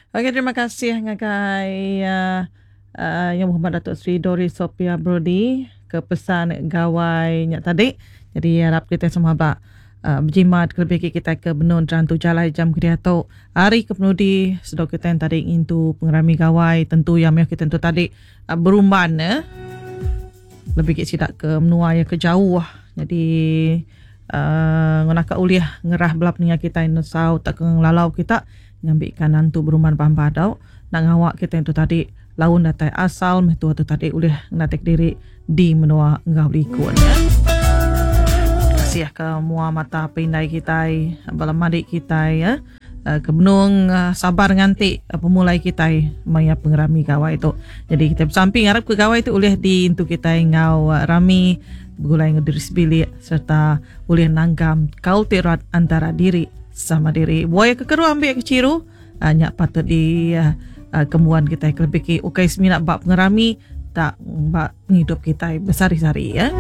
Okey terima kasih ngagai uh, Yang Berhormat Datuk Seri Doris Sophia Brody ke pesan gawai nya tadi. Jadi harap kita semua ba uh, berjimat kelebih agi kita ke benung terantu jalai jam ke diatu. Hari ke penudi sedau kita yang tadi ngintu pengerami gawai tentu yang meh kita tentu tadi uh, berumban eh. Lebih agi sida ke menua iya ke jauh. Jadi uh, ngenaka ulih ngerah bala peninga kita nesau tauka ngelalau kita ngambika nantu berumban bamba tau enda ngawa kita tu tadi laun datai asal meh tua tu tadi ulih ngenatai kediri di menua enggau likun. Kasih ke mua mata pindai kitai bala madik kitai ya. Eh, ke benung eh, sabar nganti eh, pemulai kitai maya pengerami gawai tu. Jadi kita besampi ngarap ke gawai tu ulih diintu kitai enggau rami begulai enggau diri sebilik serta ulih nanggam kaul ti rat antara diri sama diri. Buaya ke keru ambi ke chiru nya patut di kembuan kitai kelebih ki ukai semina ba pengerami tak ba pengidup kitai besari-sari ya.